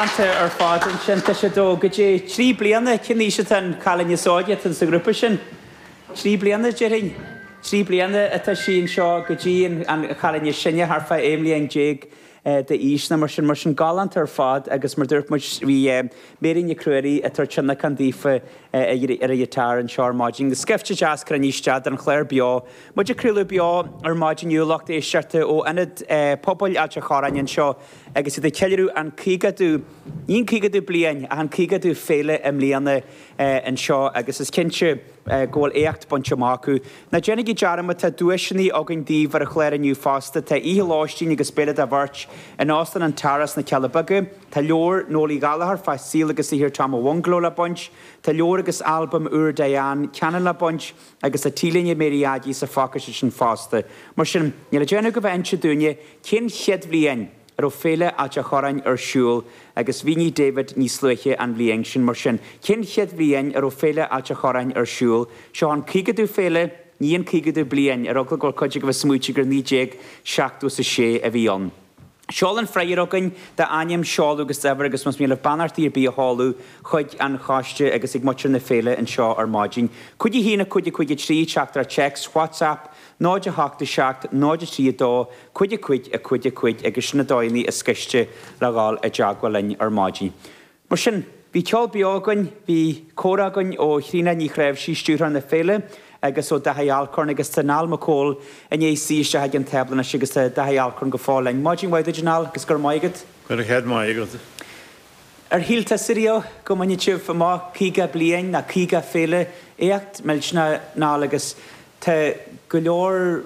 Galánta ar fad ansin. Tá siad ó go dtí 3 bliana, cén aois atá an cailín is óige atá sa ghrúpa sin? 3 bliana, déarfainn. 3 bliana atá sí anseo go dtí an chailín is sine, thart fá 11 mbliain d'aois nó mar sin. Mar sin, galánta ar fad agus mar dúirt muid, bhí Mary Nic Ruairí ag tabhairt tionlacan daofa ar an ghiotár anseo ar maidin. Scaifte deas cruinnithe isteach don chlár beo. Muid ag craoladh beo ar maidin inniu, lucht éisteachta ó Ionad Pobail Ailt an Chorráin anseo agus iad ag ceiliúradh an 50ú, ní an 50ú bliain ach an 50ú féile i mbliana anseo agus is cinnte go bhfuil éacht bainte amach acu. Ná déanaigí dearmad, tá duaiseanna againn daoibh ar an chlár inniu fosta. Tá oíche lóistín agus béile do bheirt in Óstán an Tara sna Cealla Beaga. Tá leabhar Noel Uí Ghallchóir fá saol agus saothar Tom a' Bhungalow le baint. Tá leabhar agus albam úr Diane Cannon le baint agus tá T-léine Mary Aggie sa phacáiste sin fosta. Mar sin, níl le déanamh ach a bheith ag inse dúinne cén chéad bhliain a raibh Féile Ailt a' Chorráin ar siúl agus mhínigh David níos luaithe an bhliain sin. Mar sin, cén chéad bhliain a raibh Féile Ailt a' Chorráin ar siúl? Seo an 50ú féile, ní an 50ú bliain, ar eagla go bhfuil cuid agaibh ag smaoitiú gur 1976 a bhí ann. Seol an freagra chugainn, d'ainm, seoladh agus d'uimhir agus más mian libh beannachtaí ar bith a sheoladh chuig an choiste agus ag muintir na féile anseo ar maidin. 5 1 5 5 3, teachtaireacht téacs, WhatsApp, 0 8 7 0 3 2 5 5 5 5 agus sin na dóigheanna is gaiste le dhul i dteagmháil linn ar maidin. Mar sin, bhí ceol beo againn, bhí comhrá againn ó Thríona Ní Chnáimhsí, stiúrthóir na féile, agus ó Daithí Alcorn, agus tá Niall Mac Cóil i ndiaidh suí isteach ag an tábla anois agus tá Daithí Alcorn go fóill linn. Maidin mhaith duit, a Niall, agus go raibh maith agat. Go raibh céad maith agat. Ar shíl tusa riamh go mbainfeadh sibh amach 50 bliain ná 50 féile? Éacht millteanach, Niall, agus tá go leor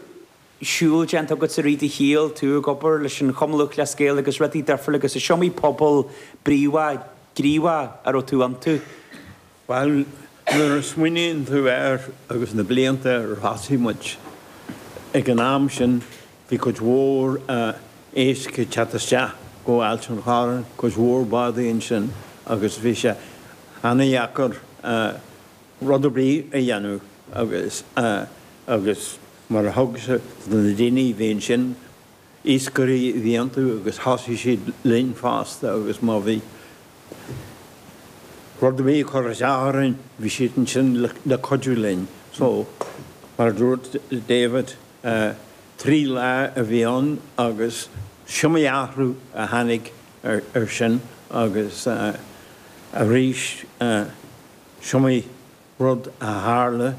siúl déanta agat i rith do shaoil, tú ag obair leis an Chumann Lúthchleas Gael agus rudaí difriúla agus is iomaí pobal bríomhar, gníomhach a raibh tú iontu. Bhuel, nuair a smaoiníonn tú air agus na blianta ar thosaigh muid, ag an am sin bhí cuid mhór éisc ag teacht isteach go Ailt an Chorráin, cuid mhór bádaí ansin agus bhí sé ana-dheacair rud ar bith a dhéanamh agus agus mar a thug sé do na daoine a bhí ansin, iascairí a bhí iontu agus thosaigh siad linn fosta agus má bhí rud ar bith ag cur isteach orainn bhí siad ansin le cuidiú linn. So, mar a dúirt David, 3 lá a bhí ann agus is iomaí athrú a tháinig ar sin agus arís is iomaí rud a tharla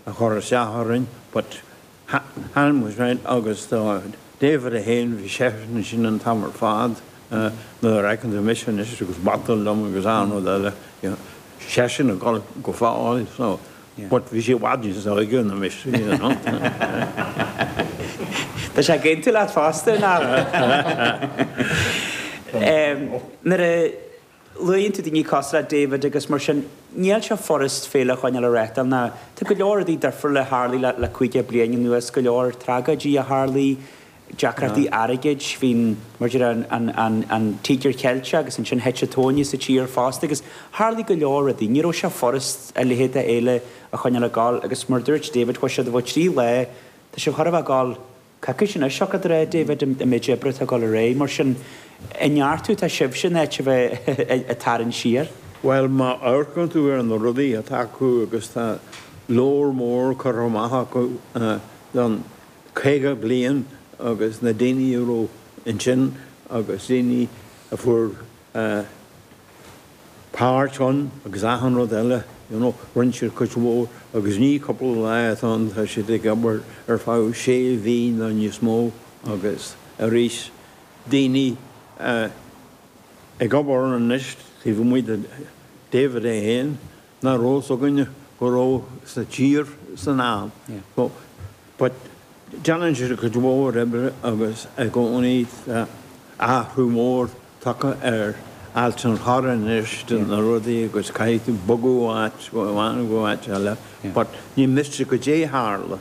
a chuir isteach orainn but tháinig muid thríd agus do David é féin bhí seisean ansin an t-am ar fad nuair a fheiceann tú mise anois agus bata liom agus achan rud eile you know seisean ag dul go fóill so but bhí sé i bhfad níos óige ná mise you know. Tá sé ag aontú leat fosta, Niall. Nuair a Luann tú daoine cosúil le David agus mar sin, níl sé furast féile a choinneáil ag reáchtáil ná tá go leor rudaí difriúla a tharlaigh le 50 bliain anuas, go leor tragóidí a tharlaigh, deacrachtaí airgid, bhí an, mar a deir an, an Tíogar Cheilteach agus ansin thit an tóine sa tír fosta agus tharlaigh go leor rudaí. Ní raibh sé furast a leithéid de fhéile a choinneáil ag gabháil agus mar a dúirt David, chuaigh siad ó 3 lá, tá sibh chóir a bheith ag gabháil Coicís anois, siocair de réir David, an méid oibre atá ag dul ar aghaidh. Mar sin, ag neartú atá sibhse in áit a bheith ag tarraingt siar. Bhuel, má amharcann tú ar na rudaí atá acu agus tá leabhar mór curtha amach acu don 50 bliain agus na daoine a raibh ansin agus daoine a fuair páirt ann agus achan rud eile, you know, rinne siad cuid mhór agus ní cúpla lá atá ann, tá siad ag obair ar feadh sé mhí nó níos mó agus arís daoine ag obair ann anois taobh amuigh de David é féin nach raibh fhios againne go raibh sa tír san am. So, but déanann siad cuid mhór oibre agus i gcónaí tá athrú mór tagtha ar Ailt an Chorráin anois de na rudaí agus caithfidh tú bogadh ó áit amháin go áit eile but ní miste goidé tharla.